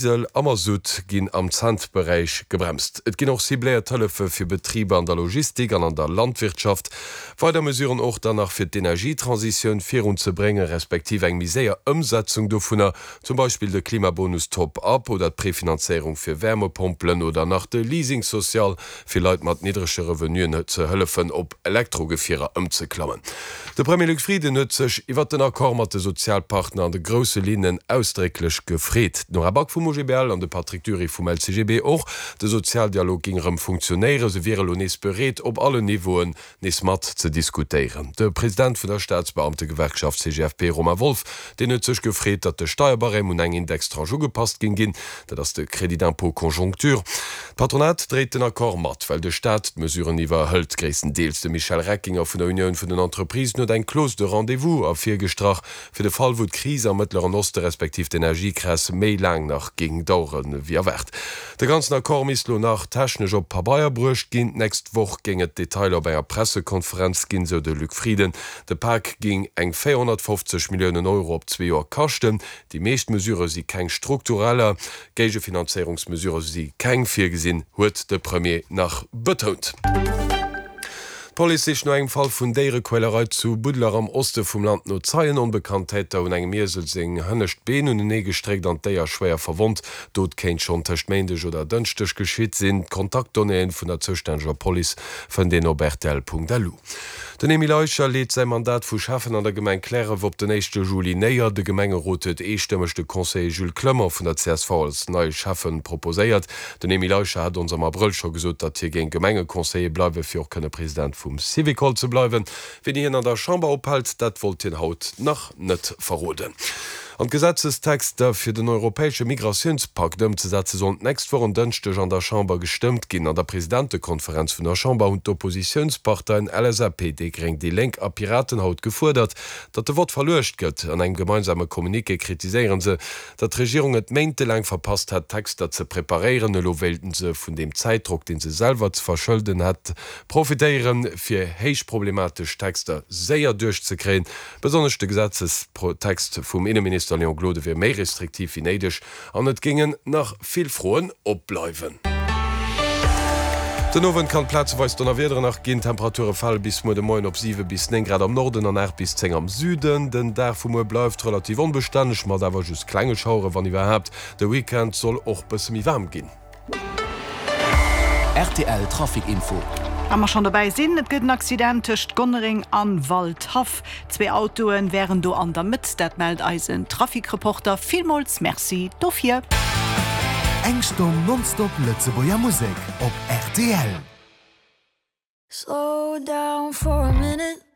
Diesel a Masutt ginn am Cent-Beräich gebremst. Et ginn och cibléiert Hëllefe fir Betriber an der Logistik an an der Landwirtschaft. Weider Mesuren och dann nach fir d'Energietransitioun virunzebréngen, respektiv eng méi séier Ëmsetzung dovunner, zum Beispill de Klimabonus Top-up oder d'Prefinanzéierung fir Wärmepompelen oder nach de Leasing social fir Leit mat niddrege Revenuen ze hëllefen op Elektrogefierer ëmzeklammen. De Premier Luc Frieden huet sech iwwert den Accord mat de Sozialpartner an de grousse Linnen ausdrécklech gefreet. D'Nora Back vum OGBL an de Patrick Dury vum LCGB och. De Sozialdialog géing erëm funktionéieren. Se wiere lo nees bereet, op allen Niveauen nees mat ze diskutéieren. De President vun der Staatsbeamtegewerkschaft CGFP, Romain Wolff, deen huet sech gefreet, datt de Steierbarème un eng Indextranche ugepasst géing ginn, dat ass de Crédit d'impôt conjoncture. D'Patronat dréit den Accord mat, well de Staat d'Mesuren iwwerhëlt, gréisstendeels. De Michel Reckinger vun der Unioun vun den Entreprisen huet eng Clause de rendez-vous ervirgestrach, fir de Fall wou d'Kris am Mëttleren Oste respektiv d'Energiekräs méi laang nach géing dauere wéi erwaart. De ganzen Accord misst lo nach technesch op Pabeier bruecht ginn. D'nächst Woch géing et Detailer op enger Pressekonferenz ginn, sou de Luc Frieden. De Pak géing eng 450 Milliounen Euro op zwee Joer kaschten. Déi meescht Mesurë si keng struktureller, Géigefinanzéierungsmesurë si keng virgesinn, huet de Premier nach betount. D'Police sicht no engem Fall vun Déierequälerei zu Buddeler am Oste vum Land no Zeien. Onbekannt Täter hunn engem Iesel seng hënnescht Been unenee gestréckt an d'Déier schwéier verwonnt. D'Dot kéint schonn tëscht Méindeg oder Dënschdeg geschitt sinn. D'Kontaktdonnéeë vun der zoustänneger Police fënnt een op rtl.lu. Den Emile Eicher leet säi Mandat vu Schäffen an der Gemeng Cliärref op den éischte Juli néier. De Gemengerot huet eestëmmeg de Conseiller Jules Clement vun der csv als neie Schäffen proposéiert. Den Emile Eicher hat ons am Abrëll scho gesot, datt hie géing Gemengeconseiller bleiwen, fir och kënne President vum Syvicol ze bleiwen. Wéini hien an der Chamber ophält, dat wollt hien haut nach net verroden. An d'Gesetzestexter fir den europäesche Migratiounspakt ëmzesetze sollen d'nächst Woch en Dënschdeg an der Chamber gestëmmt ginn. An der Presidentekonferenz vun der Chamber hunn d'Oppositiounsparteien LSAP, déi Gréng, déi Lénk a Piraten haut gefuerdert, datt de Vott verluecht gëtt. An engem gemeinsame Communiqué kritiséiere se, datt d'Regierung et méintelaang verpasst hätt, d'Texter ze preparéieren. Elo wéilten se vun deem Zäitdrock, dee se selwer ze verschëlden hätt, profitéieren, fir héich problematesch Texter séier duerchzekréien. Besonnesch de Gesetzestext vum Inneminister Léon Gloden wier méi restriktiv wéi néideg an et géingen nach vill Froen opbleiwen. Den Owend kann et plazeweis Donnerwiederen nach ginn. D'Temperature fale bis muer de Moien op 7 bis 9 Grad am Norden an 8 bis 10 am Süden. Den Dag vu muer bleift relativ onbestänneg, mat awer just klenge Schauere wann iwwerhaapt. De Weekend soll och bësse méi waarm ginn. Rtl Trafic Info. Wa mer schonn dobäi sinn, Et gëtt en Accident tëscht Gonnereng an Waldhaff. Zwee Autoe wären do an der Mëtt, dat mellt eisen Trafic-Reporter. Villmools Merci dofir. Eng Stonn nonstop Lëtzebuerger Musek op rtl. Slow down for a minute.